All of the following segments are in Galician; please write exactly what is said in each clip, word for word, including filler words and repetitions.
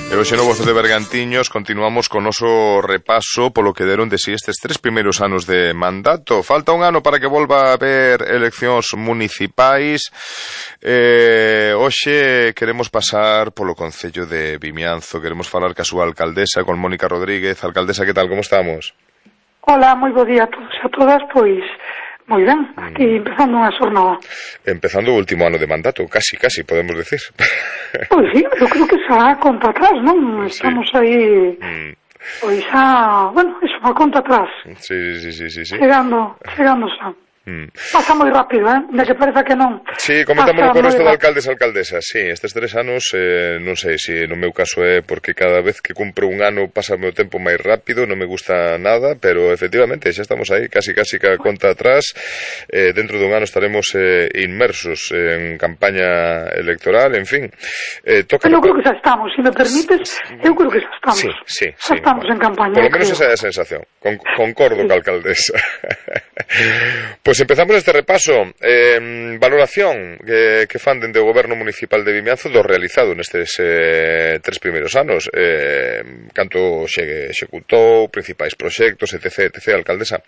E hoxe no Voz de Bergantiños continuamos con noso repaso polo que deron de si estes tres primeiros anos de mandato. Falta un ano para que volva a haber eleccións municipais. Eh, hoxe queremos pasar polo Concello de Vimianzo, queremos falar ca súa alcaldesa, con Mónica Rodríguez. Alcaldesa, que tal, como estamos? Hola, moi bo día a todos e a todas, pois moi ben, aquí empezando unha xornada. Empezando o último ano de mandato, casi, casi, podemos decir. Pois sí, eu creo que xa conta atrás, non? Estamos sí. aí, mm. pois xa, bueno, iso, a conta atrás. Sí, sí, sí, sí, sí. Chegando, chegando xa. Mm. Pasa moi rápido, eh? De que parece que non. Sí, comentámoslo con resto de alcaldes e alcaldesas. Sí, estes tres anos, eh, non sei se no meu caso é porque cada vez que cumpro un ano pasa o meu tempo máis rápido, non me gusta nada, pero efectivamente xa estamos aí, casi casi ca conta atrás. Eh, dentro dun ano estaremos eh, inmersos en campaña electoral, en fin. Eh, toca... Eu creo que xa estamos, se me permites, eu creo que xa estamos. Sí, sí, xa sí. estamos en campaña. Por lo menos esa é a sensación. Con, concordo sí. ca alcaldesa. Pois pues empezamos este repaso. Eh, valoración que, que fan dende o Goberno Municipal de Vimianzo do realizado nestes eh, tres primeiros anos. Eh, canto xe executou, principais proxectos, etc, etc, alcaldesa.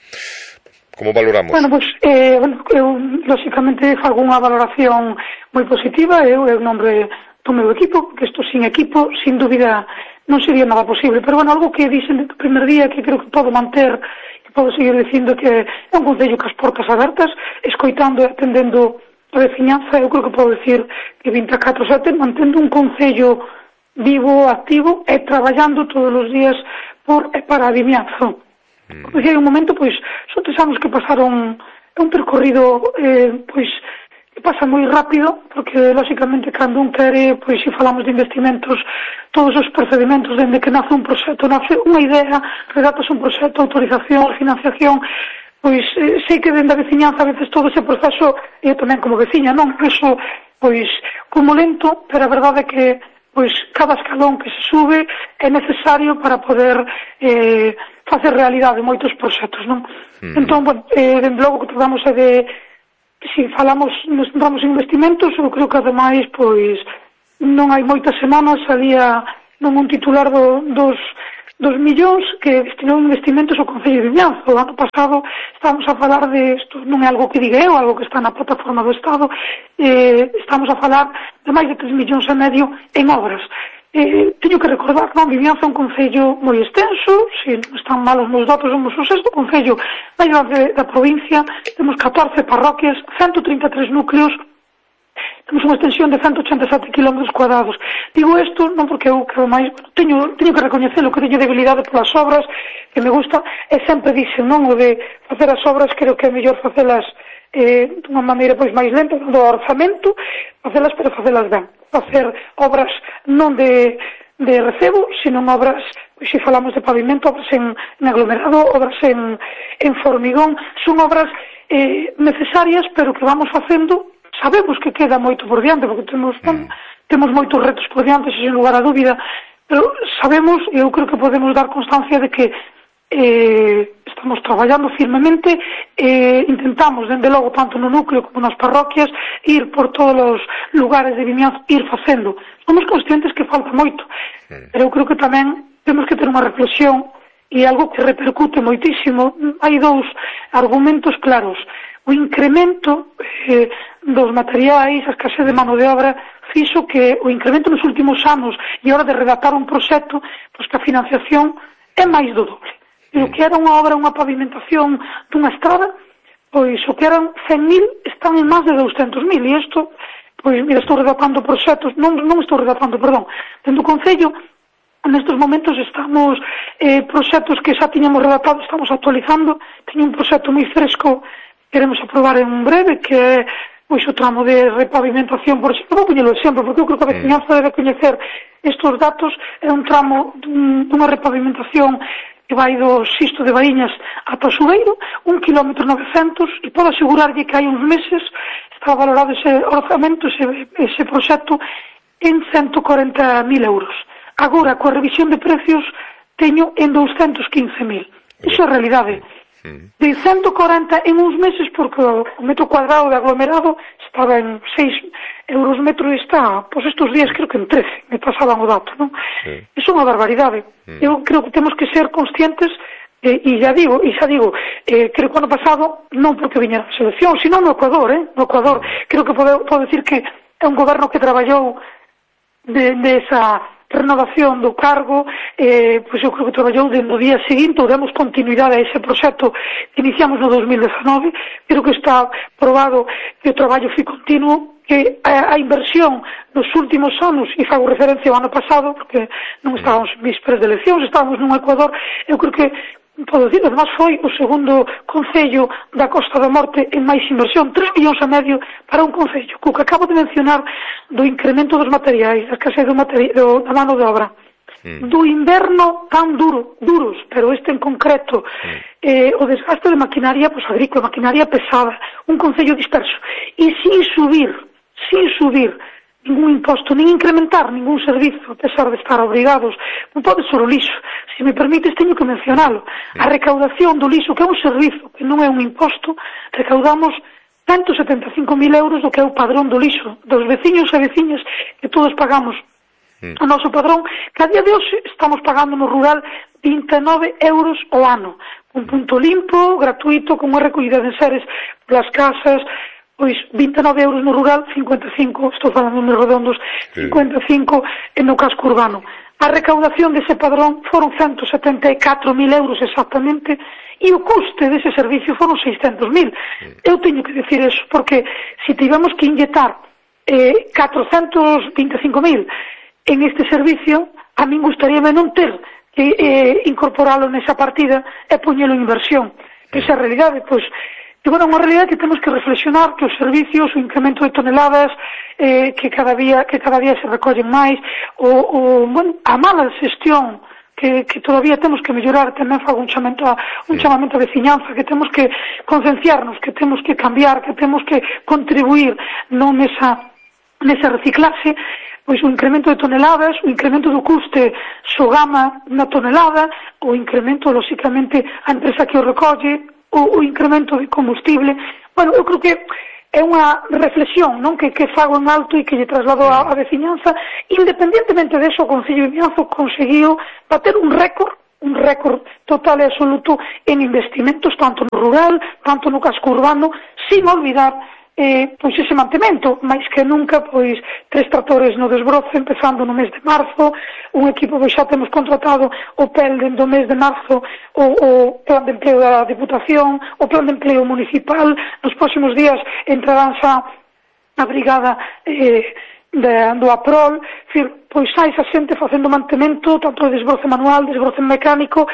Como valoramos? Bueno, pois, pues, eh, bueno, eu, lóxicamente, fago unha valoración moi positiva. Eu, eu nombre do meu equipo, que isto sin equipo, sin dúbida, non sería nada posible. Pero, bueno, algo que dixen do primer día que creo que podo manter, podo seguir dicindo que é un concello que as portas abertas, escoitando e atendendo a veciñanza. Eu creo que podo decir que vinte e catro sete mantendo un concello vivo, activo e traballando todos os días por e para a Vimianzo. Mm. Como dicía, un momento, pois, son tres anos que pasaron, é un percorrido, eh, pois, que pasa moi rápido, porque, lóxicamente, cando un quere, pois, se falamos de investimentos, todos os procedimentos, dende que nace un proxecto, nace unha idea, redatas un proxecto, autorización, financiación, pois, eh, sei que dende a veciñanza, a veces, todo ese proceso, eu tamén como veciña, non, eso, pois, como lento, pero a verdade é que, pois, cada escalón que se sube é necesario para poder eh, facer realidade moitos proxectos, non? Mm. Entón, bueno, eh, dende logo que tratamos é de, se falamos, nos centramos en investimentos, eu creo que ademais, pois, non hai moitas semanas salía non un titular do, dos, dos millóns que destinou investimentos ao Concello de Vimianzo. O ano pasado estamos a falar de, isto non é algo que diga eu, algo que está na plataforma do Estado, eh, estamos a falar de máis de tres millóns e medio en obras. Eh, teño que recordar, non, Vimianzo é un concello moi extenso, se non están mal os meus datos, somos o sexto concello máis grande da provincia, temos catorce parroquias, ciento trinta e tres núcleos, temos unha extensión de ciento ochenta e sete kilómetros cuadrados. Digo isto non porque eu, que máis, teño, teño que recoñecelo, que teño debilidade polas obras, que me gusta, e sempre dixen, non, o de facer as obras, creo que é mellor facelas eh, dunha maneira pois máis lenta, do orzamento, facelas, pero facelas ben. Facer obras non de, de recebo, sino obras, pois se falamos de pavimento, obras en, en aglomerado, obras en, en formigón, son obras eh, necesarias, pero que vamos facendo. Sabemos que queda moito por diante, porque temos, mm. temos moitos retos por diante, sin lugar a dúbida, pero sabemos, e eu creo que podemos dar constancia de que eh, estamos traballando firmemente, eh, intentamos, dende logo, tanto no núcleo como nas parroquias, ir por todos os lugares de Vimianzo, ir facendo. Somos conscientes que falta moito, mm. pero eu creo que tamén temos que ter unha reflexión, e algo que repercute moitísimo. Hai dous argumentos claros. O incremento eh, dos materiais, a escasez de mano de obra, fixo que o incremento nos últimos anos e a hora de redactar un proxecto, pois que a financiación é máis do doble. E o que era unha obra, unha pavimentación dunha estrada, pois o que eran cen mil están en máis de douscentos mil, e isto, pois, mira, estou redactando proxectos, non, non estou redactando, perdón, dentro do Concello, nestes momentos estamos, eh, proxectos que xa tiñamos redactado, estamos actualizando, teño un proxecto moi fresco, queremos aprobar en breve, que é, pois, o tramo de repavimentación, por exemplo, vou poñelo exemplo, porque eu creo que a veciñanza debe coñecer estes datos, é un tramo dun, dunha repavimentación que vai do Xisto de Baíñas ata o Subeiro, un kilómetro novecentos, e podo asegurarlle que hai uns meses está valorado ese orzamento, ese, ese proxecto, en ciento corenta mil euros. Agora, coa revisión de precios, teño en doscientos quince mil. Iso é a realidade. De ciento corenta en uns meses, porque o metro cuadrado de aglomerado estaba en seis euros metro está, pois estes días creo que en trece, me pasaban o dato, non? Sí. Iso é unha barbaridade. Mm. Eu creo que temos que ser conscientes, eh, e xa digo, e xa digo, eh, creo que ano pasado, non porque viña a selección, sino no Ecuador, eh? No Ecuador, creo que podo, podo decir que é un goberno que traballou de, de esa renovación do cargo, eh, pois eu creo que traballou no día seguinte, ou demos continuidade a ese proxecto que iniciamos no dos mil dezenove, creo que está probado que o traballo foi continuo, que a, a inversión nos últimos anos, e fago referencia ao ano pasado, porque non estábamos en vísperas de eleccións, estábamos nun Ecuador, eu creo que podo dicir, además foi o segundo concello da Costa da Morte en máis inversión, tres millóns e medio para un concello, co que acabo de mencionar do incremento dos materiais, da escasez do materi- do, da mano de obra, mm. do inverno tan duro, duros, pero este en concreto, mm. eh, o desgaste de maquinaria, pues agrícola, maquinaria pesada, un concello disperso, e sin subir, sin subir ningún imposto, nin incrementar ningún servizo, a pesar de estar obrigados, non pode ser o lixo. Se me permites, teño que mencionalo. A recaudación do lixo, que é un servizo, que non é un imposto, recaudamos ciento setenta e cinco mil euros do que é o padrón do lixo, dos veciños e veciñas que todos pagamos o noso padrón, que a día de hoxe estamos pagando no rural vinte e nove euros ao ano. Un punto limpo, gratuito, con unha recollida de enseres polas casas, pois vinte e nove euros no rural, cincuenta e cinco, estou falando nos redondos, cincuenta e cinco no casco urbano. A recaudación dese padrón foron ciento setenta e catro mil euros exactamente, e o custe dese servicio foron seiscentos mil. Eu teño que decir eso, porque se tivemos que inyectar eh, catrocentos vinte e cinco mil en este servicio, a min gustaríame non ter que eh, incorporalo nesa partida e poñelo en inversión. Esa realidade, pois, e, bueno, unha realidade que temos que reflexionar, que os servicios, o incremento de toneladas eh, que cada día que cada día se recollen máis, o, o bueno, a mala xestión que, que todavía temos que mellorar, tamén fago un chamamento a, un chamamento a veciñanza, que temos que concienciarnos, que temos que cambiar, que temos que contribuir non nesa, nesa reciclaxe, pois o incremento de toneladas, o incremento do custe Sogama na tonelada, o incremento, lóxicamente, a empresa que o recolle, o, o incremento de combustible. Bueno, eu creo que é unha reflexión, non, que, que fago en alto e que lle traslado a, a veciñanza. Independentemente deso, o Concello de Vimianzo conseguiu bater un récord, un récord total e absoluto en investimentos, tanto no rural, tanto no casco urbano, sin olvidar eh, pois ese mantemento, máis que nunca, pois tres tractores no desbroce, empezando no mes de marzo, un equipo, pois xa temos contratado o P E L dentro do mes de marzo, o, o plan de empleo da Diputación, o plan de empleo municipal, nos próximos días entrarán xa a brigada eh, de, do APROL, fir, pois xa esa xente facendo mantemento, tanto de desbroce manual, desbroce mecánico,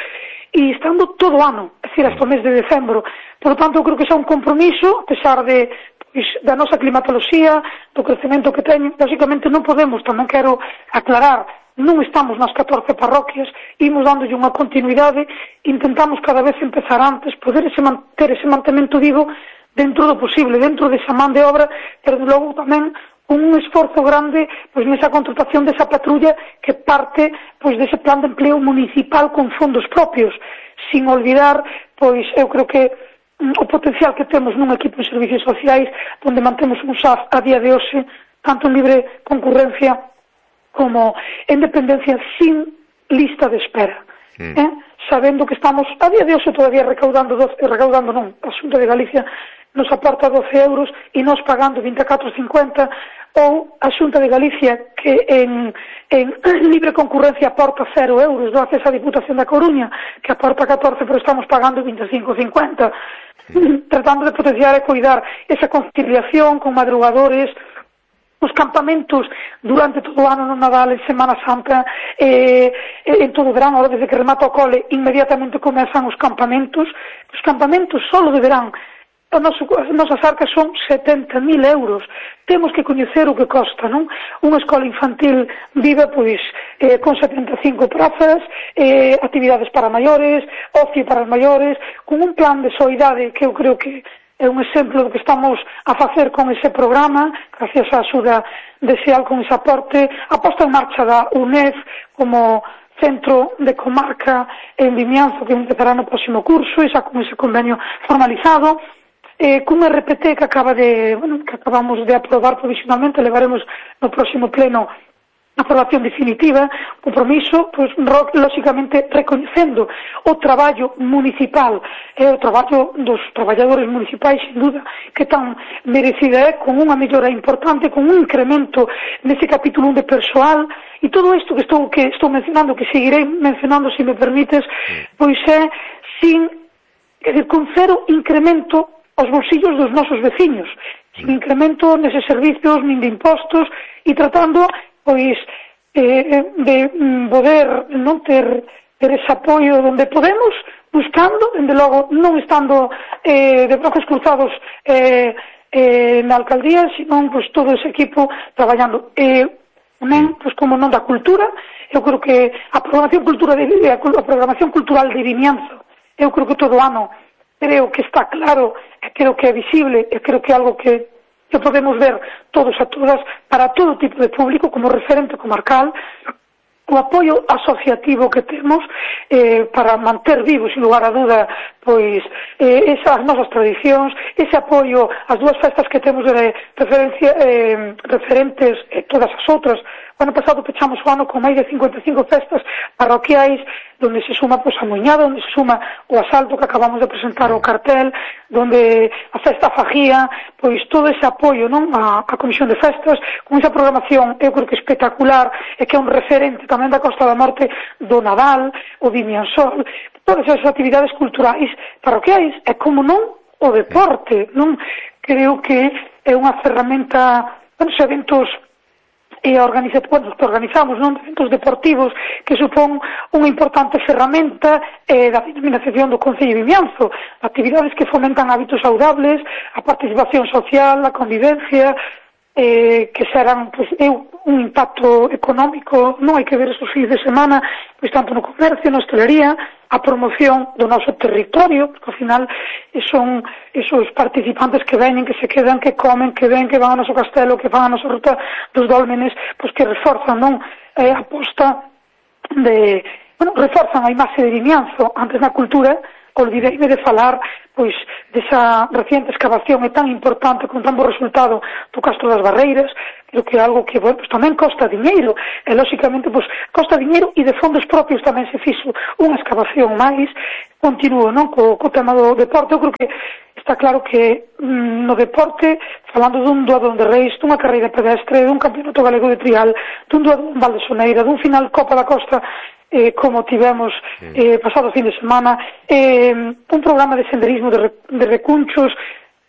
e estando todo o ano, é dicir, hasta o mes de decembro. Por lo tanto, eu creo que xa un compromiso, a pesar de pois, da nosa climatoloxía, do crecemento que teñen. Lógicamente non podemos, tamén quero aclarar, non estamos nas catorce parroquias, imos dándolle unha continuidade, intentamos cada vez empezar antes, poder ese, ter ese mantemento vivo dentro do posible, dentro desa man de obra, pero logo tamén un esforzo grande pois nesa contratación desa patrulla que parte pois dese plan de empleo municipal con fondos propios, sin olvidar, pois eu creo que o potencial que temos nun equipo de servicios sociais onde mantemos un S A F a día de hoxe tanto en libre concurrencia como en dependencia sin lista de espera, mm. eh? sabendo que estamos a día de hoxe todavía recaudando doce, recaudando non, a Xunta de Galicia nos aporta doce euros e nos pagando vinte e catro cincuenta, ou a Xunta de Galicia que en, en libre concurrencia aporta cero euros, gracias á Diputación da Coruña que aporta catorce, pero estamos pagando vinte e cinco cincuenta, tratando de potenciar e cuidar esa conciliación con madrugadores, os campamentos durante todo o ano no Nadal, en Semana Santa, eh, en todo o verán, ahora desde que remata o cole, inmediatamente comezan os campamentos. Os campamentos solo de verán, as nosas arcas son setenta mil euros. Temos que coñecer o que costa, non? Unha escola infantil vive, pois, eh, con setenta e cinco prazas, eh, actividades para maiores, ocio para os maiores, con un plan de soidade que eu creo que é un exemplo do que estamos a facer con ese programa, gracias á axuda de SEAL con ese aporte, a posta en marcha da U N E F como centro de comarca en Vimianzo que empezará no próximo curso, e xa con ese convenio formalizado. eh, cun R P T que acaba de, bueno, que acabamos de aprobar provisionalmente, levaremos no próximo pleno a aprobación definitiva, compromiso, pois, lóxicamente, recoñecendo o traballo municipal e o traballo dos traballadores municipais, sin duda, que tan merecida é, con unha mellora importante, con un incremento nese capítulo un de persoal, e todo isto que estou, que estou mencionando, que seguirei mencionando, se me permites, pois é sin, quer dizer, con cero incremento aos bolsillos dos nosos veciños, sin incremento neses servicios, nin de impostos, e tratando pois eh, de poder non ter, ter ese apoio onde podemos, buscando, dende logo, non estando eh, de brazos cruzados eh, eh, na alcaldía, senón pois, todo ese equipo traballando. Eh, tamén, pois, como non da cultura, eu creo que a programación, cultura de, a programación cultural de Vimianzo, eu creo que todo ano, creo que está claro, e creo que é visible, e creo que é algo que que podemos ver todos a todas para todo tipo de público como referente comarcal, o apoio asociativo que temos eh, para manter vivos, sin lugar a duda, pois eh, esas nosas tradicións, ese apoio ás dúas festas que temos de referencia, eh, referentes e eh, todas as outras. O ano pasado pechamos o ano con máis de cincuenta e cinco festas parroquiais, donde se suma pois, a Moñada, onde se suma o asalto que acabamos de presentar o cartel, donde a festa fagía, pois todo ese apoio non a, a Comisión de Festas, con esa programación, eu creo que espectacular, e que é un referente tamén da Costa da Morte do Nadal, o Vimiansol, todas esas actividades culturais parroquiais, e como non o deporte, non? Creo que é unha ferramenta, bueno, os eventos e organiza, bueno, que organizamos, non, eventos deportivos que supón unha importante ferramenta eh, da dinamización do Concello de Vimianzo, actividades que fomentan hábitos saudables, a participación social, a convivencia, eh, que serán, pues, eu, un impacto económico, non hai que ver esos fins de semana, pois tanto no comercio, na hostelería, a promoción do noso territorio, porque ao final son esos participantes que veñen, que se quedan, que comen, que ven, que van ao noso castelo, que van á nosa ruta dos dólmenes, pois que reforzan, non, eh, a posta de, bueno, reforzan a imaxe de Vimianzo. Antes na cultura, olvideime de falar, pois, desa reciente excavación é tan importante, con tan bo resultado do Castro das Barreiras, creo que é algo que, bueno, pues, tamén costa diñeiro, e, lóxicamente, pues, costa diñeiro, e de fondos propios tamén se fixo unha excavación máis. Continuo, non, co, co tema do deporte. Eu creo que está claro que mm, no deporte, falando dun doadón de Reis, dunha carreira pedestre, dun campeonato galego de trial, dun doadón Val de Soneira, dun final Copa da Costa, eh, como tivemos eh, pasado fin de semana, eh, un programa de senderismo de, de recunchos,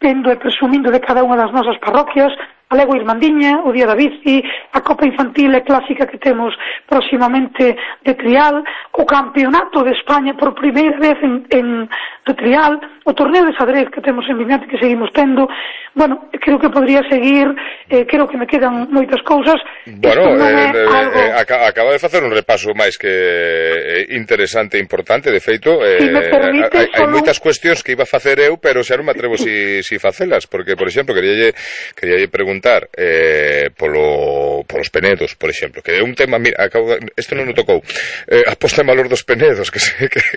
vendo e presumindo de cada unha das nosas parroquias, a Legua Irmandiña, o Día da Bici, a Copa Infantil e Clásica que temos próximamente de trial, o Campeonato de España por primeira vez en, en de trial, o torneo de xadrez que temos en Vimianzo que seguimos tendo. Bueno, creo que podría seguir, eh, creo que me quedan moitas cousas. Bueno, eh, eh, algo... eh, acaba de facer un repaso máis que interesante e importante, de feito, eh, si permite, hai, hai solo... moitas cuestións que iba a facer eu, pero xa non me atrevo si, si facelas, porque, por exemplo, queríalle, queríalle preguntar eh, polo, polos penedos, por exemplo, que é un tema, mira, acabo de, isto non o tocou, eh, a posta en valor dos penedos, que se... Que, que...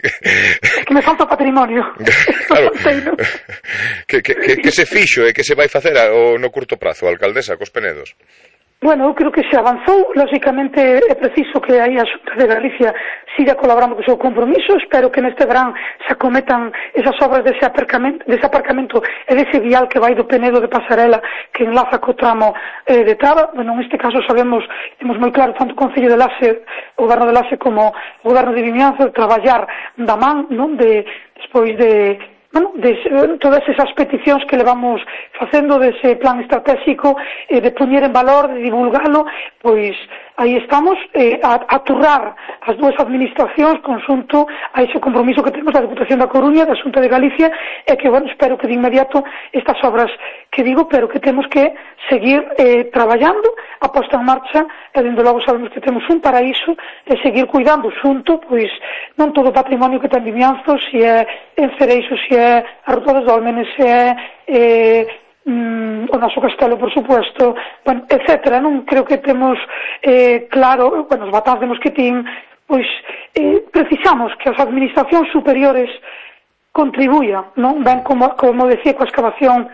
que me falta o patrimonio. Claro, que, que, que, que se fixo e que se vai facer o no curto prazo, a alcaldesa, cos penedos? Bueno, eu creo que se avanzou, lógicamente é preciso que aí a Xunta de Galicia siga colaborando co seu compromiso. Espero que neste verán se acometan esas obras dese aparcamento, dese aparcamento e dese vial que vai do Penedo de Pasarela que enlaza co tramo eh, de Traba. Bueno, neste caso sabemos, temos moi claro tanto o Concello de Laxe, o Goberno de Laxe como o Goberno de Vimianzo de traballar da man, non, de despois de bueno, de todas esas peticións que levamos facendo dese plan estratégico, eh, de poñer en valor, de divulgalo, pois aí estamos eh, a, a turrar as dúas administracións conxunto a ese compromiso que temos da Deputación da Coruña, da Xunta de Galicia, e que, bueno, espero que de inmediato estas obras que digo, pero que temos que seguir eh, traballando, a posta en marcha, e dende logo sabemos que temos un paraíso, e seguir cuidando xunto, pois, non todo o patrimonio que ten Vimianzo, se é en Cereixo, se é a Ruta dos Dólmenes, se é eh, mm, o noso castelo, por supuesto, bueno, etcétera. Non creo que temos eh, claro, bueno, os batáns de Mosquetín, pois eh, precisamos que as administracións superiores contribuya, non? Ben, como, como decía, coa excavación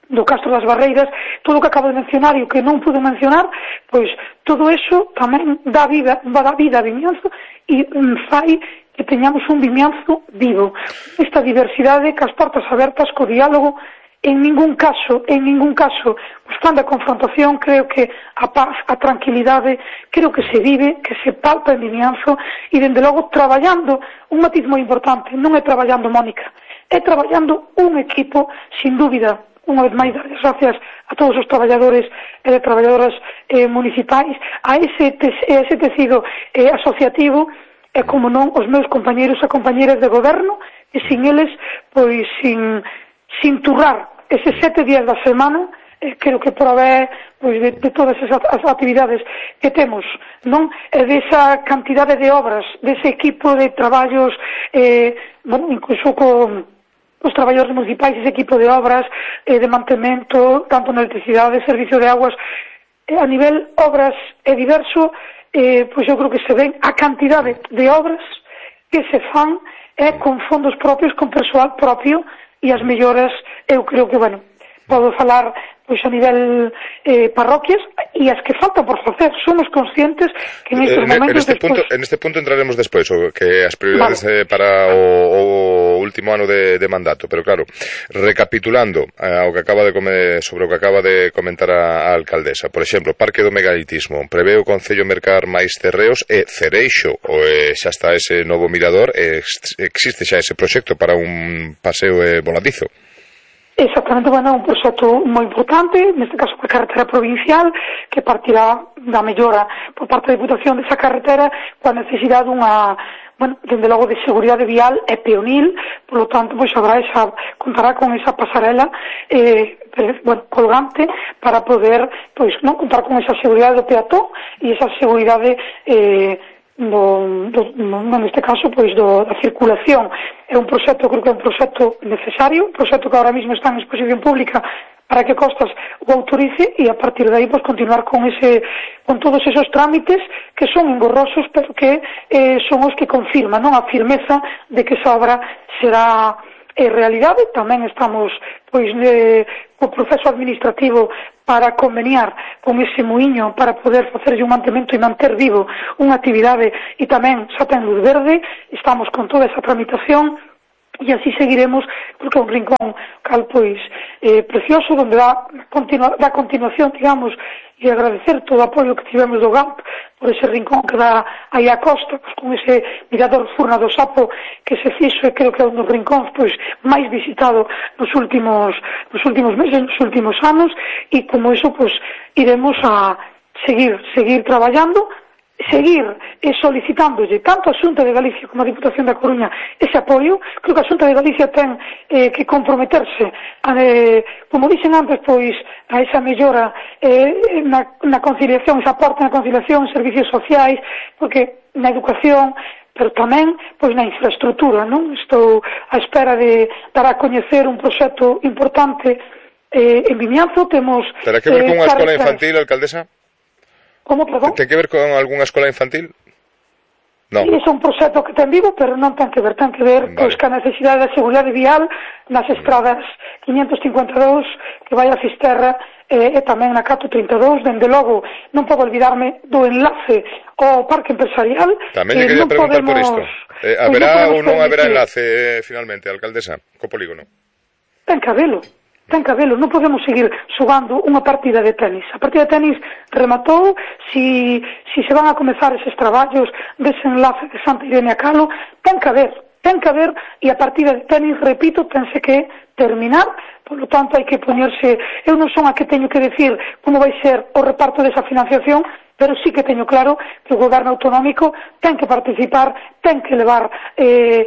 do Castro das Barreiras, todo o que acabo de mencionar e o que non pude mencionar, pois todo eso tamén dá vida, dá vida a Vimianzo e fai que teñamos un Vimianzo vivo. Esta diversidade, cas portas abertas, co diálogo, en ningún caso, en ningún caso, buscando a confrontación, creo que a paz, a tranquilidade, creo que se vive, que se palpa en Vimianzo e, dende logo, traballando, un matiz moi importante, non é traballando Mónica, é traballando un equipo, sin dúbida, unha vez máis, dar as gracias a todos os traballadores e de traballadoras eh, municipais, a ese, te, ese tecido eh, asociativo, e, como non, os meus compañeros e compañeras de goberno, e sin eles, pois, sin, sin turrar eses sete días da semana, eh, creo que provee pois, de, de todas esas as actividades que temos, non? E desa cantidade de obras, dese equipo de traballos, eh, bueno, incluso con os traballadores municipais, ese equipo de obras, eh, de mantemento, tanto na electricidade, servicio de aguas, eh, a nivel obras é diverso, eh, pois eu creo que se ven a cantidade de obras que se fan é eh, con fondos propios, con persoal propio, e as melloras, eu creo que, bueno, podo falar pois a nivel eh, parroquias e as que faltan por facer. Somos conscientes que en estes momentos... En este, después... punto, en este punto entraremos despois, o que as prioridades vale. eh, para o, o último ano de, de mandato, pero claro, recapitulando eh, o que acaba de comer, sobre o que acaba de comentar a, a alcaldesa, por exemplo, Parque do Megalitismo, prevé o Concello mercar máis terreos e Cereixo, o eh, xa está ese novo mirador, e existe xa ese proxecto para un paseo eh, voladizo. Exactamente, bueno, é un proxecto moi importante, neste caso a carretera provincial, que partirá da mellora por parte da Diputación desa carretera, coa necesidade dunha, bueno, dende logo de seguridade vial e peonil, polo tanto, pois habrá esa, contará con esa pasarela, eh, bueno, colgante, para poder, pois, non contar con esa seguridade do peatón e esa seguridade, eh, Do, do, no, neste caso, pois, do, da circulación. É un proxecto, creo que é un proxecto necesario, un proxecto que ahora mismo está en exposición pública para que Costas o autorice e a partir de aí, pois, continuar con ese, con todos esos trámites que son engorrosos, pero que eh, son os que confirman, non, a firmeza de que esa obra será eh, realidade. Tamén estamos, pois, eh, co proceso administrativo para conveniar con ese muiño para poder facerlle un mantemento e manter vivo unha actividade e tamén xa ten luz verde, estamos con toda esa tramitación e así seguiremos, porque é un rincón cal pois eh, precioso, donde dá, continua, dá continuación, digamos, e agradecer todo o apoio que tivemos do G A M P por ese rincón que dá aí a costa, pois, con ese mirador Furna do Sapo que se fixo, e creo que é un dos rincóns pois máis visitado nos últimos nos últimos meses, nos últimos anos, e como iso pois iremos a seguir seguir traballando, seguir eh, solicitándolle tanto a Xunta de Galicia como a Diputación da Coruña ese apoio. Creo que a Xunta de Galicia ten eh, que comprometerse a, eh, como dixen antes, pois a esa mellora eh, na, na conciliación, esa aporte na conciliación, servicios sociais, porque na educación, pero tamén pois na infraestructura, non? Estou á espera de dar a coñecer un proxecto importante eh, en Vimianzo. Temos Terá que ver con unha eh, escola infantil, alcaldesa? Como, perdón? Ten que ver con algunha escola infantil? Non. Sí, é un proxecto que ten vivo, pero non ten que ver, ten que ver, vale, pois, ca necesidade da seguridade vial nas estradas quinhentos cincuenta e dous que vai a Fisterra eh, e tamén na Cato trinta e dous. Dende logo, non podo olvidarme do enlace ao parque empresarial. Tamén lle quería preguntar podemos, por isto. Eh, haberá ou non haberá enlace, eh, finalmente, alcaldesa, co polígono? Ten que habelo. Ten que habelo, non podemos seguir xogando unha partida de tenis. A partida de tenis rematou, si, si se van a comezar eses traballos dese enlace de Santa Irene a Calo, ten que haber, ten que haber, e a partida de tenis, repito, tense que terminar, polo tanto hai que poñerse, eu non son a que teño que decir como vai ser o reparto desa financiación, pero sí que teño claro que o goberno autonómico ten que participar, ten que levar, eh,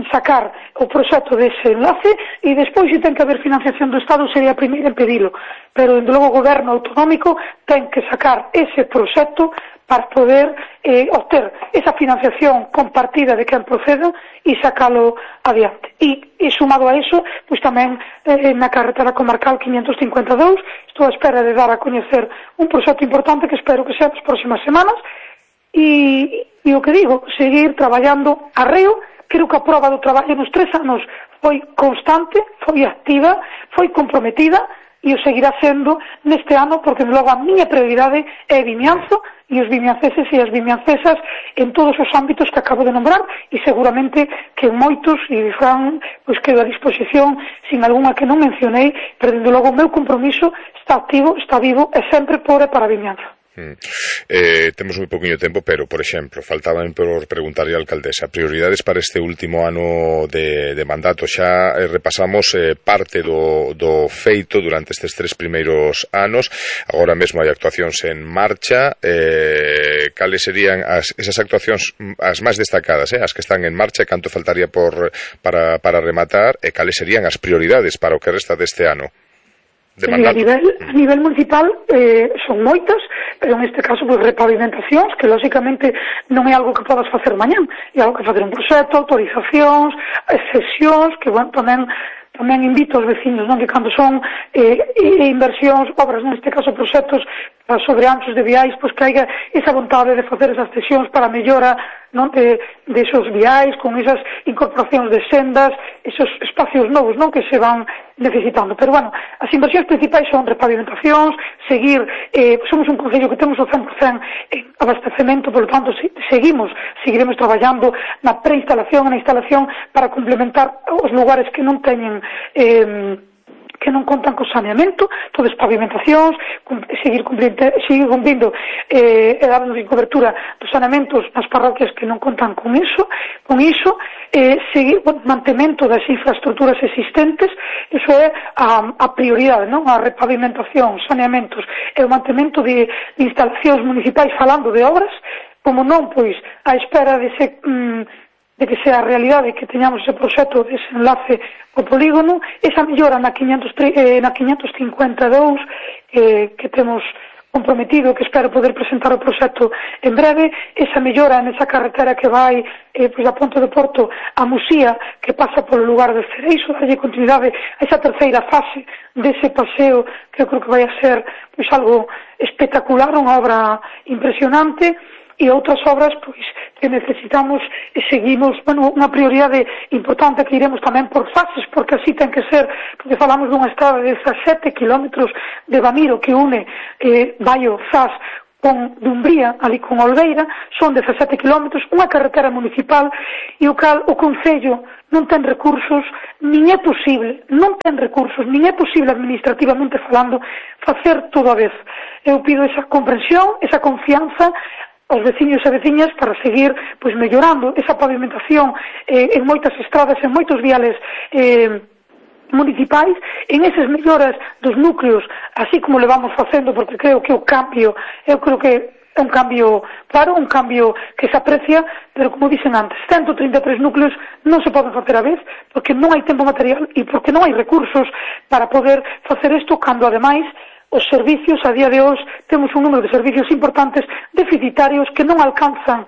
sacar o proxecto dese enlace, e despois, se ten que haber financiación do Estado, sería a primeira en pedilo, pero, dende logo, o goberno autonómico ten que sacar ese proxecto para poder eh, obter esa financiación compartida de quen proceda e sacalo adiante. E, e sumado a eso, pois tamén eh, na carretera comarcal quinhentos cincuenta e dous, estou a espera de dar a coñecer un proxecto importante que espero que sea nas próximas semanas, e, e o que digo, seguir traballando arreo, creo que a proba do traballo nos tres anos foi constante, foi activa, foi comprometida e o seguirá sendo neste ano, porque logo a miña prioridade é Vimianzo e os vimianceses e as vimiancesas en todos os ámbitos que acabo de nombrar e seguramente que en moitos, e Fran, pois quedo a disposición sin algunha que non mencionei, pero dende logo o meu compromiso está activo, está vivo e sempre por e para Vimianzo. Mm. Eh, temos moi pouquinho tempo, pero, por exemplo, faltaban por preguntarlle a alcaldesa prioridades para este último ano de, de mandato. Xa eh, repasamos eh, parte do, do feito durante estes tres primeiros anos. Agora mesmo hai actuacións en marcha. Eh, cales serían as, esas actuacións as máis destacadas, eh, as que están en marcha, canto faltaría por, para, para rematar, e cales serían as prioridades para o que resta deste ano? Sí, a nivel, a nivel municipal eh, son moitas, pero en este caso pues, repavimentacións, que lógicamente non é algo que podas facer mañán, é algo que facer un proxecto, autorizacións, sesións, que bueno, tamén tamén invito aos veciños, non, que cando son eh, inversións, obras, neste caso proxectos sobre anchos de viais, pois que haiga esa vontade de facer esas sesións para a mellora, non, de, de esos viais, con esas incorporacións de sendas, esos espacios novos, non, que se van necesitando. Pero, bueno, as inversións principais son repavimentacións, seguir, eh, somos un concello que temos o cen por cen en abastecemento, por lo tanto, si, seguimos, seguiremos traballando na preinstalación e na instalación para complementar os lugares que non teñen eh, que non contan co saneamento, todas pavimentacións, seguir cumprindo, seguir cumprindo eh, e darnos cobertura dos saneamentos nas parroquias que non contan con iso, con iso, eh, seguir o mantemento das infraestructuras existentes, iso é a, a prioridade, non? A repavimentación, saneamentos e o mantemento de, de instalacións municipais falando de obras, como non, pois, a espera de se... Mm, de que sea a realidade que teñamos ese proxecto de desenlace ao polígono, esa mellora na, quinhentos, eh, na quinhentos cincuenta e dous eh, que temos comprometido, que espero poder presentar o proxecto en breve, esa mellora nesa carretera que vai eh, pois a Ponte de Porto a Musía, que pasa polo lugar de Cereixo, darlle continuidade a esa terceira fase dese paseo, que eu creo que vai a ser pois algo espectacular, unha obra impresionante, e outras obras pois que necesitamos e seguimos, bueno, unha prioridade importante que iremos tamén por fases, porque así ten que ser, porque falamos dunha estrada de dezasete kilómetros de Bamiro que une eh, Baio, Zas con Dumbría, ali con Olveira, son dezasete kilómetros, unha carretera municipal e o cal o Concello non ten recursos, nin é posible, non ten recursos, nin é posible administrativamente falando facer todo a vez. Eu pido esa comprensión, esa confianza aos veciños e veciñas para seguir pois mellorando esa pavimentación eh, en moitas estradas, en moitos viales eh, municipais, en esas melloras dos núcleos, así como le vamos facendo, porque creo que o cambio, eu creo que é un cambio claro, un cambio que se aprecia, pero como dicen antes, ciento treinta e tres núcleos non se poden facer a vez, porque non hai tempo material e porque non hai recursos para poder facer isto, cando ademais os servicios, a día de hoxe, temos un número de servicios importantes deficitarios que non alcanzan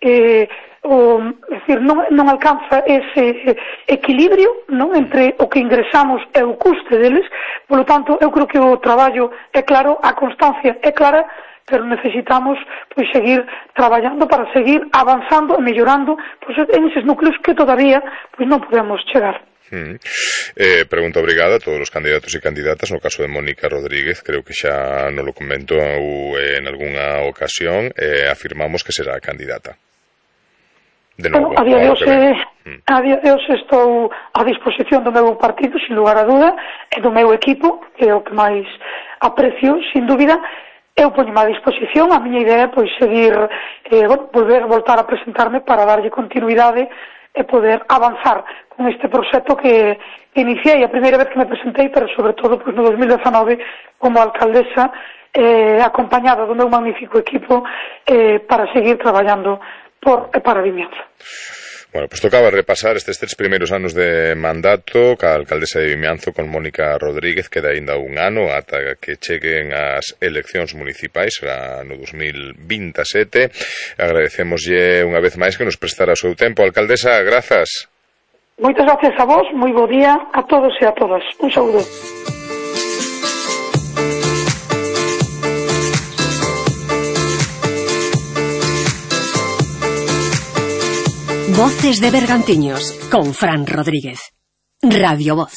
eh, o, é dicir, non, non alcanza ese equilibrio, non, entre o que ingresamos e o custe deles. Por lo tanto, eu creo que o traballo é claro, a constancia é clara, pero necesitamos pois seguir traballando para seguir avanzando e mellorando pois, en eses núcleos que todavía pois non podemos chegar. Mm. Eh, pregunta obrigada a todos os candidatos e candidatas. No caso de Mónica Rodríguez, creo que xa non lo comentou en algunha ocasión, eh, afirmamos que será candidata de novo. Bueno, a día de hoxe mm. a día de hoxe estou a disposición do meu partido, sin lugar a duda, e do meu equipo, que é o que máis aprecio, sin dúbida. Eu poño a disposición, a miña idea é pois seguir, eh, bueno, volver a voltar a presentarme para darlle continuidade e poder avanzar con este proxecto que iniciei a primeira vez que me presentei, pero sobre todo pois, no dos mil dezanove como alcaldesa, eh, acompañada do meu magnífico equipo eh, para seguir traballando por e para Vimianzo. Bueno, pues tocaba repasar estes tres primeiros anos de mandato ca alcaldesa de Vimianzo con Mónica Rodríguez. Queda aínda un ano ata que cheguen as eleccións municipais no dos mil vintisete. Agradecemoslle unha vez máis que nos prestara o seu tempo. Alcaldesa, grazas. Moitas gracias a vos, moi bo día a todos e a todas. Un saúdo. Voces de Bergantiños, con Fran Rodríguez. Radio Voz.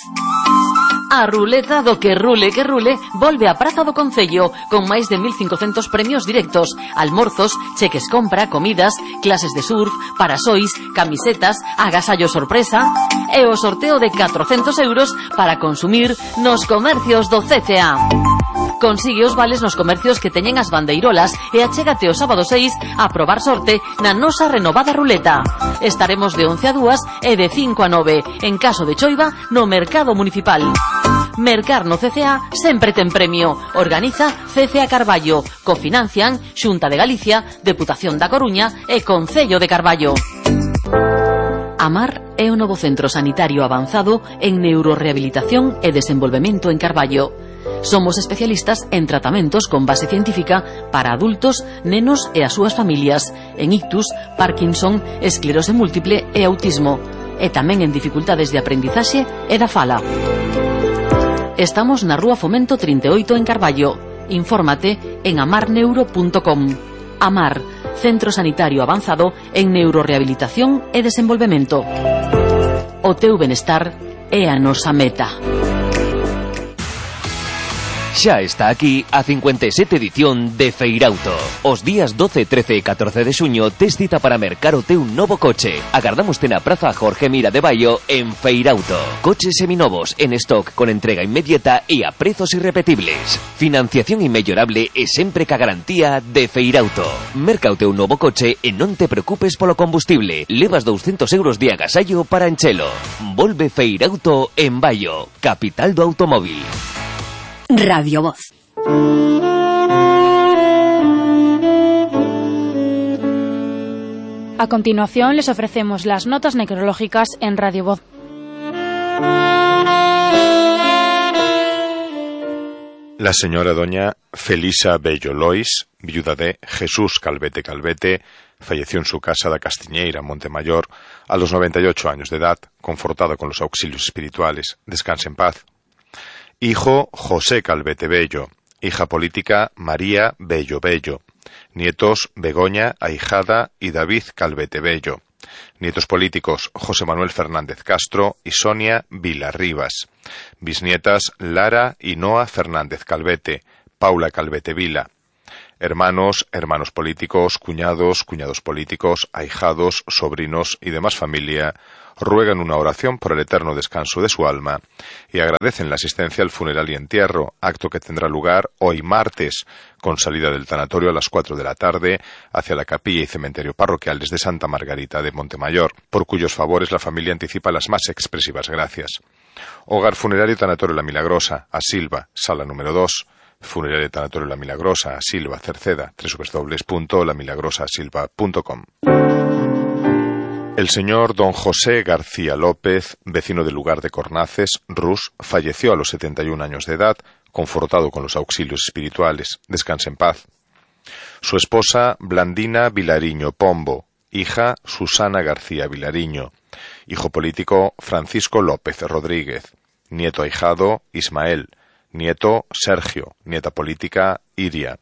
A ruleta do que rule que rule volve a Praza do Concello con máis de mil cincocentos premios directos, almorzos, cheques compra, comidas, clases de surf, parasois, camisetas, agasallo sorpresa e o sorteo de catrocentos euros para consumir nos comercios do C C A. Consigue os vales nos comercios que teñen as bandeirolas e achégate o sábado seis a probar sorte na nosa renovada ruleta. Estaremos de once a dúas e de cinco a nove, en caso de choiva, no Mercado Municipal. Mercar no C C A sempre ten premio. Organiza C C A Carballo. Cofinancian Xunta de Galicia, Deputación da Coruña e Concello de Carballo. Amar é o novo centro sanitario avanzado en neurorehabilitación e desenvolvemento en Carballo. Somos especialistas en tratamentos con base científica para adultos, nenos e as súas familias, en ictus, Parkinson, esclerose múltiple e autismo, e tamén en dificultades de aprendizaxe e da fala. Estamos na Rúa Fomento trinta e oito en Carballo. Infórmate en amar neuro punto com. Amar, centro sanitario avanzado en neurorehabilitación e desenvolvemento. O teu benestar é a nosa meta. Xa está aquí a cincuenta e sete edición de Feirauto. Os días doce, trece e catorce de xuño tes cita para mercar o teu novo coche. Agardámoste na Praza Jorge Mira de Baio en Feirauto. Coches seminovos en stock con entrega inmediata e a prezos irrepetibles. Financiación inmellorable e sempre ca garantía de Feirauto. Merca o teu novo coche e non te preocupes polo combustible. Levas douscentos euros de agasallo para enchelo. Volve Feirauto en Baio, capital do automóvil. Radio Voz. A continuación les ofrecemos las notas necrológicas en Radio Voz. La señora doña Felisa Bello Lois, viuda de Jesús Calvete Calvete, falleció en su casa de Castiñeira, Montemayor, a los noventa y ocho años de edad, confortada con los auxilios espirituales. Descanse en paz. Hijo José Calvete Bello, hija política María Bello Bello, nietos Begoña Ahijada y David Calvete Bello, nietos políticos José Manuel Fernández Castro y Sonia Vilarribas, bisnietas Lara y Noa Fernández Calvete, Paula Calvete Vila, hermanos, hermanos políticos, cuñados, cuñados políticos, ahijados, sobrinos y demás familia ruegan una oración por el eterno descanso de su alma y agradecen la asistencia al funeral y entierro, acto que tendrá lugar hoy martes, con salida del tanatorio a las cuatro de la tarde hacia la capilla y cementerio parroquiales de Santa Margarita de Montemayor, por cuyos favores la familia anticipa las más expresivas gracias. Hogar Funerario Tanatorio La Milagrosa, a Silva, sala número dos. Funerario Tanatorio La Milagrosa, a Silva, Cerceda, doble u doble u doble u punto la milagrosa silva punto com. El señor don José García López, vecino del lugar de Cornaces, Rus, falleció a los setenta y un años de edad, confortado con los auxilios espirituales. Descanse en paz. Su esposa, Blandina Vilariño Pombo, hija, Susana García Vilariño, hijo político, Francisco López Rodríguez, nieto ahijado, Ismael, nieto, Sergio, nieta política, Iria,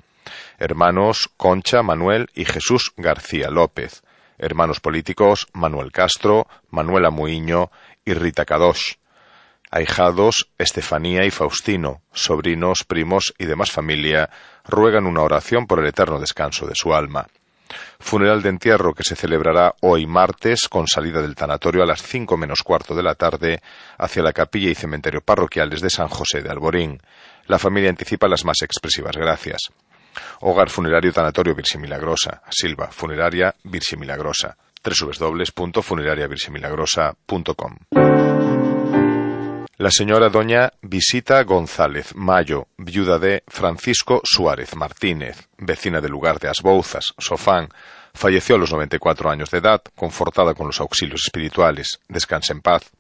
hermanos, Concha, Manuel y Jesús García López, hermanos políticos, Manuel Castro, Manuela Muiño y Rita Kadosh, ahijados, Estefanía y Faustino, sobrinos, primos y demás familia, ruegan una oración por el eterno descanso de su alma. Funeral de entierro que se celebrará hoy martes con salida del tanatorio a las cinco menos cuarto de la tarde hacia la capilla y cementerio parroquiales de San José de Alborín. La familia anticipa las más expresivas gracias. Hogar Funerario Tanatorio Virxe Milagrosa, Silva, Funeraria Virxe Milagrosa, doble u doble u doble u punto funeraria virxe milagrosa punto com. La señora doña Visita González Mayo, viuda de Francisco Suárez Martínez, vecina del lugar de Asbouzas, Sofán, falleció a los noventa y cuatro años de edad, confortada con los auxilios espirituales. Descanse en paz.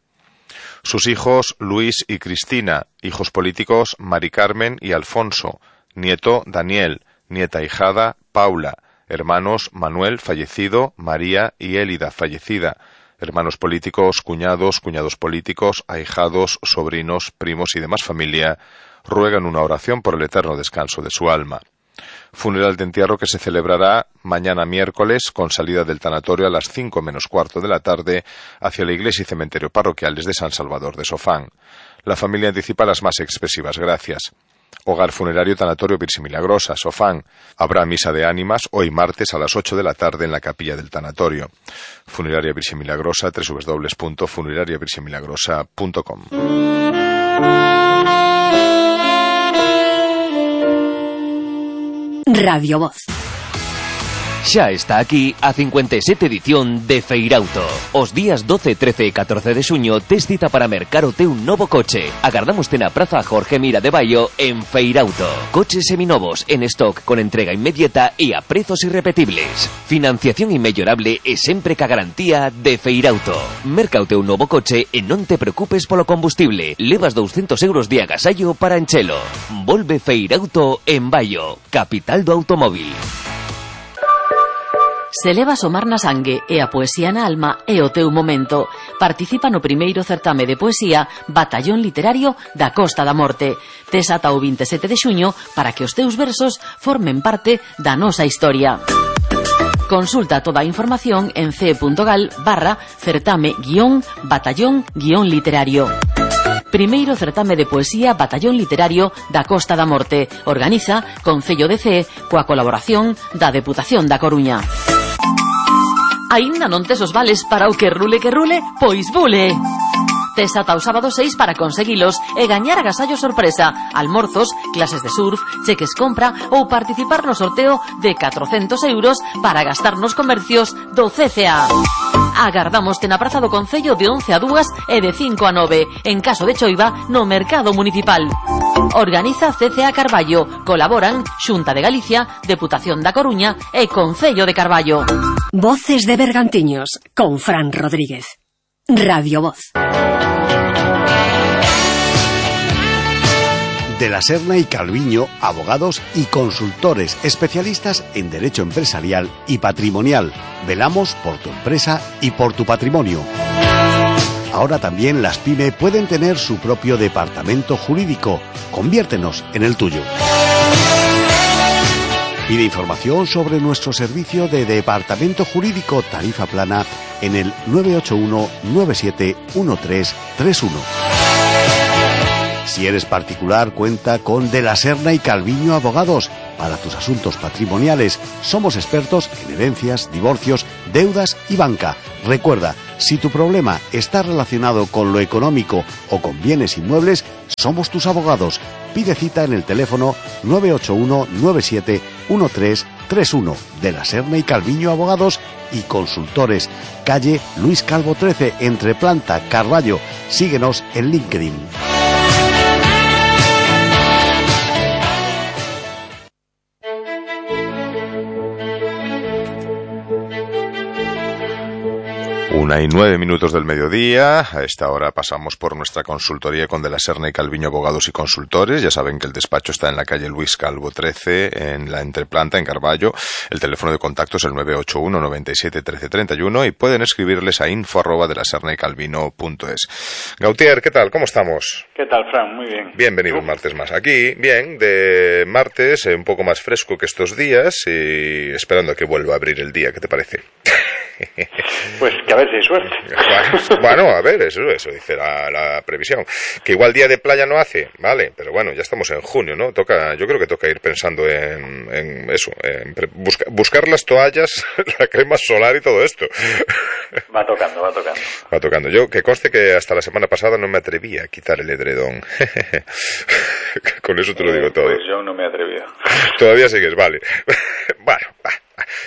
Sus hijos Luis y Cristina, hijos políticos Mari Carmen y Alfonso, nieto Daniel, nieta ahijada Paula, hermanos Manuel fallecido, María y Élida fallecida, hermanos políticos, cuñados, cuñados políticos, ahijados, sobrinos, primos y demás familia, ruegan una oración por el eterno descanso de su alma. Funeral de entierro que se celebrará mañana miércoles con salida del tanatorio a las cinco menos cuarto de la tarde hacia la iglesia y cementerio parroquiales de San Salvador de Sofán. La familia anticipa las más expresivas gracias. Hogar funerario Tanatorio Virgen Milagrosa, Sofán. Habrá misa de ánimas hoy martes a las ocho de la tarde en la capilla del tanatorio. Funeraria Virgen Milagrosa, doble u doble u doble u punto funeraria virgen milagrosa punto com. Radio Voz. Xa está aquí a cincuenta y siete edición de Feirauto. Os días doce, trece e catorce de xuño tes cita para mercar o teu novo coche. Agardámoste na Praza Jorge Mira de Baio en Feirauto. Coches seminovos en stock con entrega inmediata e a prezos irrepetibles. Financiación inmellorable e sempre ca garantía de Feirauto. Merca o teu novo coche e non te preocupes polo combustible. Levas doscientos euros de agasallo para enchelo. Volve Feirauto en Baio, capital do automóvil. Se leva somar na sangue e a poesía na alma é o teu momento. Participa no primeiro certame de poesía Batallón Literario da Costa da Morte. Tes ata o vinte e sete de xuño para que os teus versos formen parte da nosa historia. Consulta toda a información en ce.gal barra certame guión batallón guión literario. Primeiro certame de poesía Batallón Literario da Costa da Morte. Organiza Concello de Cee coa colaboración da Deputación da Coruña. Aínda non tes os vales para o que rule que rule? Pois bule! Tes ata o sábado seis para conseguilos e gañar agasallo sorpresa, almorzos, clases de surf, cheques compra ou participar no sorteo de catrocentos euros para gastar nos comercios do C C A. Agardámoste na Praza do Concello de once a dúas e de cinco a nove, en caso de choiva, no Mercado Municipal. Organiza C C A Carballo. Colaboran Xunta de Galicia, Deputación da Coruña e Concello de Carballo. Voces de Bergantiños con Fran Rodríguez. Radio Voz. De la Serna y Calviño, abogados y consultores especialistas en derecho empresarial y patrimonial. Velamos por tu empresa y por tu patrimonio. Ahora también las pyme pueden tener su propio departamento jurídico. Conviértenos en el tuyo. Pide información sobre nuestro servicio de departamento jurídico tarifa plana en el nueve ocho uno nueve siete uno tres tres uno. Si eres particular, cuenta con De la Serna y Calviño Abogados. Para tus asuntos patrimoniales, somos expertos en herencias, divorcios, deudas y banca. Recuerda, si tu problema está relacionado con lo económico o con bienes inmuebles, somos tus abogados. Pide cita en el teléfono nueve ocho uno nueve siete uno tres tres uno. De la Serna y Calviño Abogados y Consultores. Calle Luis Calvo trece, entre Planta, Carballo. Síguenos en LinkedIn. Una y nueve minutos del mediodía. A esta hora pasamos por nuestra consultoría con De la Serna y Calviño Abogados y Consultores. Ya saben que el despacho está en la calle Luis Calvo trece, en la Entreplanta, en Carballo. El teléfono de contacto es el nueve ocho uno nueve siete uno tres tres uno y pueden escribirles a info arroba de la serna y calvino punto es. Gautier, ¿qué tal? ¿Cómo estamos? ¿Qué tal, Fran? Muy bien. Bienvenido un martes más. Aquí, bien, de martes, un poco más fresco que estos días y esperando a que vuelva a abrir el día. ¿Qué te parece? Pues que a ver si hay suerte. Bueno, a ver, eso, eso dice la, la previsión. Que igual día de playa no hace, vale, pero bueno, ya estamos en junio, ¿no? Toca, yo creo que toca ir pensando en, en eso, en busca, buscar las toallas, la crema solar y todo esto. Va tocando, va tocando. Va tocando. Yo, que conste que hasta la semana pasada no me atrevía a quitar el edredón. Con eso te lo digo todo. Pues yo no me he atrevido. Todavía sigues, vale. Bueno, va.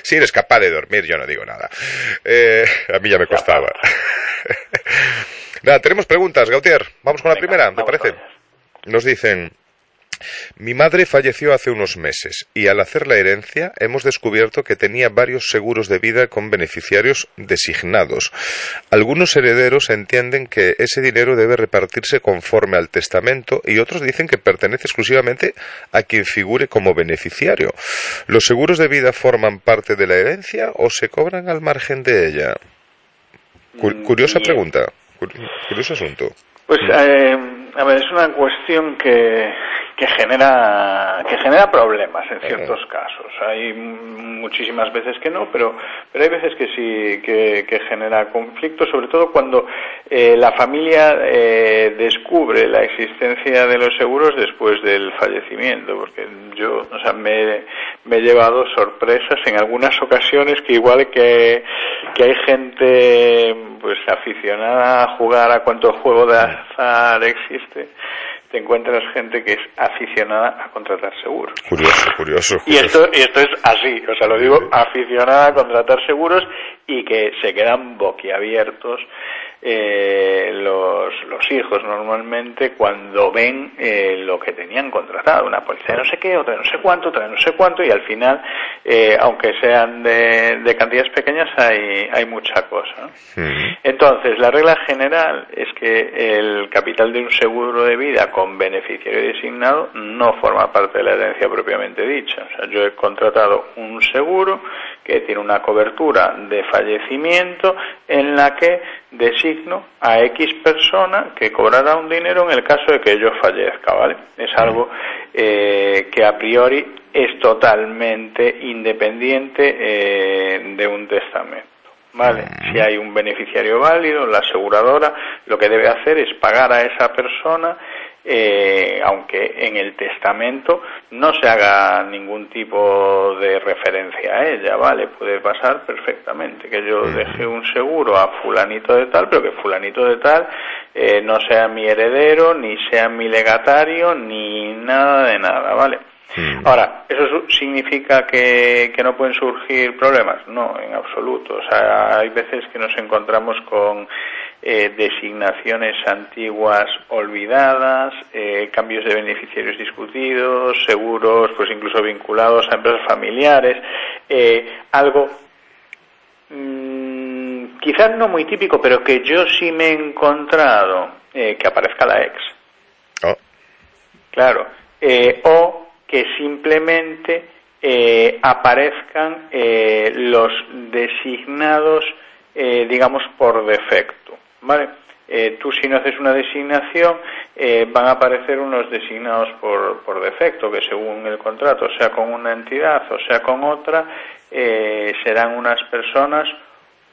Si eres capaz de dormir, yo no digo nada. Eh, a mí ya me costaba. Nada, tenemos preguntas, Gautier. Vamos con la Venga, primera, ¿te parece? Nos dicen: mi madre falleció hace unos meses y al hacer la herencia hemos descubierto que tenía varios seguros de vida con beneficiarios designados. Algunos herederos entienden que ese dinero debe repartirse conforme al testamento y otros dicen que pertenece exclusivamente a quien figure como beneficiario. ¿Los seguros de vida forman parte de la herencia o se cobran al margen de ella? Curiosa pregunta, curioso asunto. Pues, eh, a ver, es una cuestión que, que genera que genera problemas en ciertos casos. Hay muchísimas veces que no, pero pero hay veces que sí que, que genera conflicto, sobre todo cuando eh, la familia eh, descubre la existencia de los seguros después del fallecimiento, porque yo, o sea, me, me he llevado sorpresas en algunas ocasiones que igual que que hay gente pues aficionada a jugar a cuánto juego de azar existe, te encuentras gente que es aficionada a contratar seguros. Curioso, curioso. curioso. Y esto y esto es así, o sea, lo digo, aficionada a contratar seguros y que se quedan boquiabiertos eh, los, los hijos normalmente cuando ven eh, lo que tenían contratado, una póliza de no sé qué, otra de no sé cuánto, otra de no sé cuánto, y al final, eh, aunque sean de, de cantidades pequeñas, hay, hay mucha cosa, ¿no? Mm. Entonces, la regla general es que el capital de un seguro de vida con beneficiario designado no forma parte de la herencia propiamente dicha. O sea, yo he contratado un seguro que tiene una cobertura de fallecimiento en la que designo a X persona que cobrará un dinero en el caso de que yo fallezca, ¿vale? Es algo eh, que a priori es totalmente independiente eh, de un testamento, ¿vale? Si hay un beneficiario válido, la aseguradora lo que debe hacer es pagar a esa persona, eh, aunque en el testamento no se haga ningún tipo de referencia a ella, ¿vale? Puede pasar perfectamente que yo deje un seguro a fulanito de tal, pero que fulanito de tal eh, no sea mi heredero, ni sea mi legatario, ni nada de nada, ¿vale? Ahora, ¿eso significa que, que no pueden surgir problemas? No, en absoluto. O sea, hay veces que nos encontramos con eh, designaciones antiguas olvidadas, eh, cambios de beneficiarios discutidos, seguros, pues incluso vinculados a empresas familiares, eh, algo mmm, quizás no muy típico, pero que yo sí me he encontrado, eh, que aparezca la ex. Oh. Claro. Eh, o que simplemente eh, aparezcan eh, los designados, eh, digamos, por defecto, ¿vale? Eh, tú si no haces una designación, eh, van a aparecer unos designados por, por defecto, que según el contrato, sea con una entidad o sea con otra, eh, serán unas personas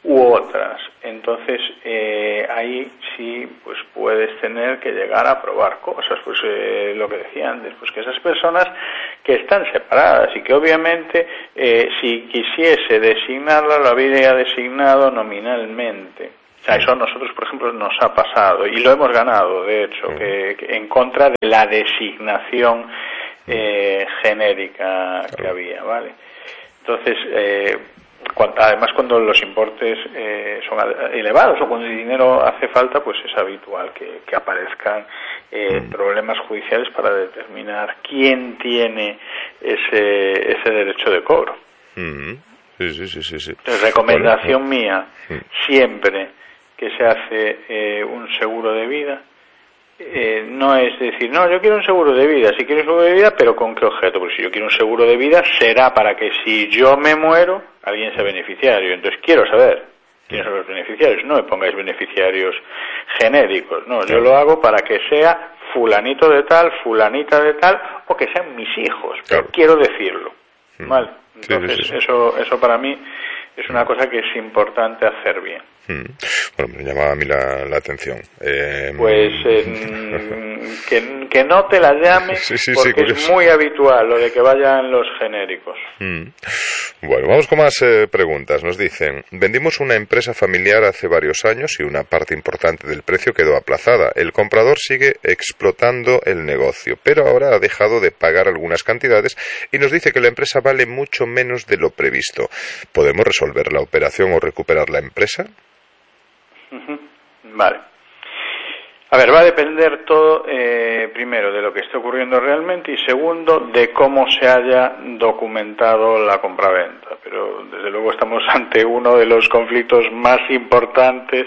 u otras. Entonces eh, ahí sí pues puedes tener que llegar a probar cosas, pues eh, lo que decía antes, pues que esas personas que están separadas y que obviamente eh, si quisiese designarla lo habría designado nominalmente. O sea, eso a nosotros, por ejemplo, nos ha pasado y lo hemos ganado, de hecho, que, que en contra de la designación eh, genérica que había, ¿vale? Entonces, eh, Cuando, además cuando los importes eh, son elevados o cuando el dinero hace falta, pues es habitual que, que aparezcan eh, mm. problemas judiciales para determinar quién tiene ese ese derecho de cobro. Mm. Sí, sí, sí, sí, sí. Entonces, recomendación bueno, mía, mm. siempre que se hace eh, un seguro de vida, Eh, no es decir, no, yo quiero un seguro de vida, si quiero un seguro de vida, pero ¿con qué objeto? Pues si yo quiero un seguro de vida, será para que si yo me muero, alguien sea beneficiario. Entonces quiero saber quiénes son los beneficiarios. No me pongáis beneficiarios genéricos, no, yo lo hago para que sea fulanito de tal, fulanita de tal, o que sean mis hijos, pero claro. quiero decirlo, ¿vale? Entonces sí, sí, sí. eso eso para mí es una cosa que es importante hacer bien. Bueno, me llamaba a mí la, la atención. Eh, pues eh, que, que no te la llames sí, sí, porque sí, es muy habitual lo de que vayan los genéricos. Mm. Bueno, vamos con más eh, preguntas. Nos dicen, vendimos una empresa familiar hace varios años y una parte importante del precio quedó aplazada. El comprador sigue explotando el negocio, pero ahora ha dejado de pagar algunas cantidades y nos dice que la empresa vale mucho menos de lo previsto. ¿Podemos resolver la operación o recuperar la empresa? Vale. A ver, va a depender todo, eh, primero, de lo que esté ocurriendo realmente y segundo, de cómo se haya documentado la compraventa. Pero, desde luego, estamos ante uno de los conflictos más importantes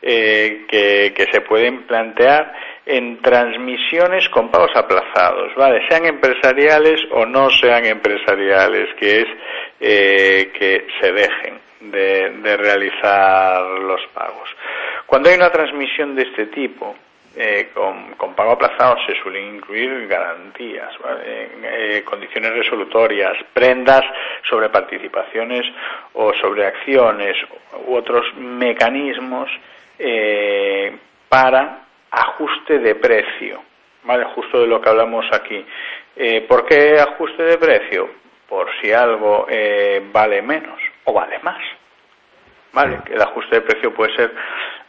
eh, que, que se pueden plantear en transmisiones con pagos aplazados, ¿vale? Sean empresariales o no sean empresariales, que es eh, que se dejen de, de realizar los pagos. Cuando hay una transmisión de este tipo, eh, con, con pago aplazado se suelen incluir garantías, ¿vale? eh, condiciones resolutorias, prendas sobre participaciones o sobre acciones u otros mecanismos eh, para ajuste de precio, ¿vale? Justo de lo que hablamos aquí. Eh, ¿Por qué ajuste de precio? Por si algo eh, vale menos o vale más, ¿vale? El ajuste de precio puede ser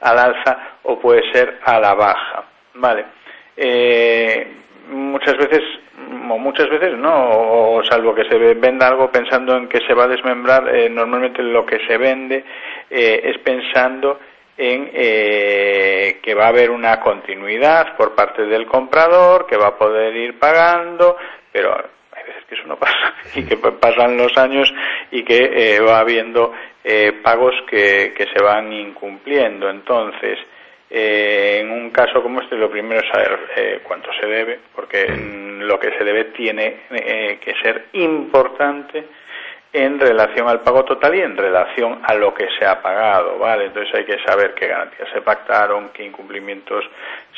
al alza o puede ser a la baja, ¿vale? Eh, muchas veces, o muchas veces no, o salvo que se venda algo pensando en que se va a desmembrar, eh, normalmente lo que se vende eh, es pensando en eh, que va a haber una continuidad por parte del comprador, que va a poder ir pagando, pero hay veces que eso no pasa y que pasan los años y que eh, va habiendo eh, pagos que, que se van incumpliendo. Entonces, eh, en un caso como este, lo primero es saber eh, cuánto se debe, porque lo que se debe tiene eh, que ser importante en relación al pago total y en relación a lo que se ha pagado, ¿vale? Entonces hay que saber qué garantías se pactaron, qué incumplimientos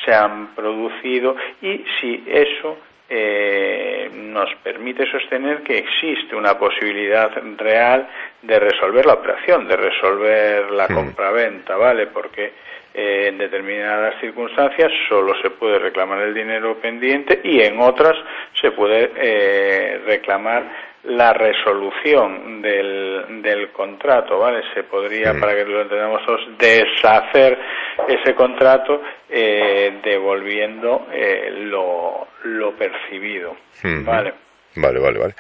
se han producido y si eso eh, nos permite sostener que existe una posibilidad real de resolver la operación, de resolver la compraventa, ¿vale? Porque eh, en determinadas circunstancias solo se puede reclamar el dinero pendiente y en otras se puede eh, reclamar la resolución del, del contrato, ¿vale? Se podría, mm. para que lo entendamos todos, deshacer ese contrato eh, devolviendo eh, lo, lo percibido, mm-hmm. ¿vale? Vale, vale, vale.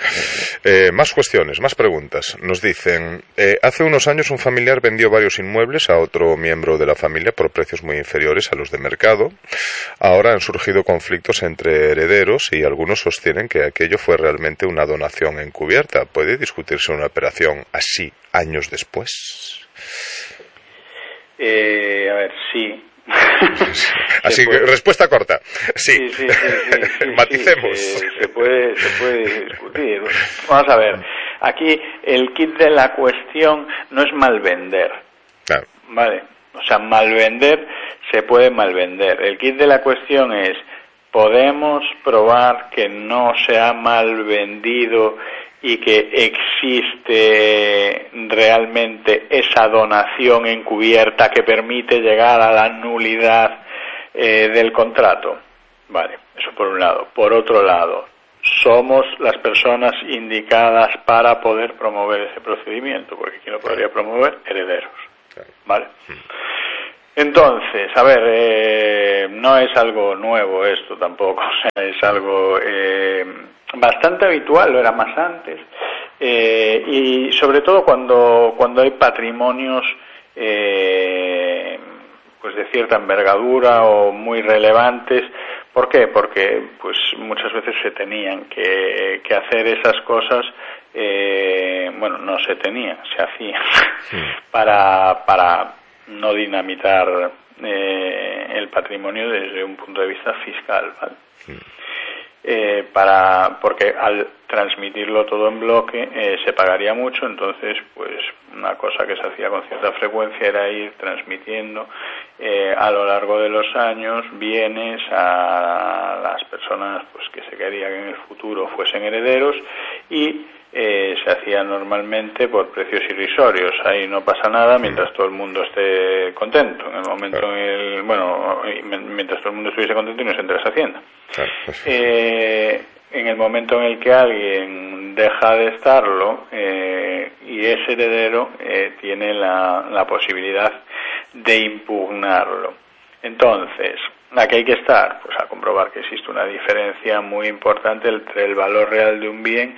Eh, más cuestiones, más preguntas. Nos dicen, eh, hace unos años un familiar vendió varios inmuebles a otro miembro de la familia por precios muy inferiores a los de mercado. Ahora han surgido conflictos entre herederos y algunos sostienen que aquello fue realmente una donación encubierta. ¿Puede discutirse una operación así años después? Eh, a ver, sí. Así que respuesta corta. Sí, sí, sí, sí, sí, sí maticemos. Sí, se, se puede, se puede discutir. Vamos a ver. Aquí el kit de la cuestión no es malvender. Claro. Vale. O sea, malvender se puede malvender. El kit de la cuestión es: podemos probar que no se ha malvendido y que existe realmente esa donación encubierta que permite llegar a la nulidad eh, del contrato. Vale, eso por un lado. Por otro lado, somos las personas indicadas para poder promover ese procedimiento, porque ¿quién lo podría promover? Herederos. Vale. Entonces, a ver, eh, no es algo nuevo esto tampoco, o sea, es algo eh, bastante habitual, lo era más antes, eh, y sobre todo cuando cuando hay patrimonios eh, pues de cierta envergadura o muy relevantes. ¿Por qué? Porque pues muchas veces se tenían que, que hacer esas cosas, eh, bueno, no se tenían, se hacían sí. para para no dinamitar eh, el patrimonio desde un punto de vista fiscal, ¿vale? Sí. Eh, para porque al transmitirlo todo en bloque eh, se pagaría mucho, entonces pues una cosa que se hacía con cierta frecuencia era ir transmitiendo eh, a lo largo de los años bienes a las personas pues que se quería que en el futuro fuesen herederos y Eh, se hacía normalmente por precios irrisorios. Ahí no pasa nada mientras todo el mundo esté contento. En el momento claro. en el, bueno, mientras todo el mundo estuviese contento y no se entrase a Hacienda. Claro. Eh, en el momento en el que alguien deja de estarlo eh, y es heredero, eh, tiene la, la posibilidad de impugnarlo. Entonces, ¿a qué hay que estar? Pues a comprobar que existe una diferencia muy importante entre el valor real de un bien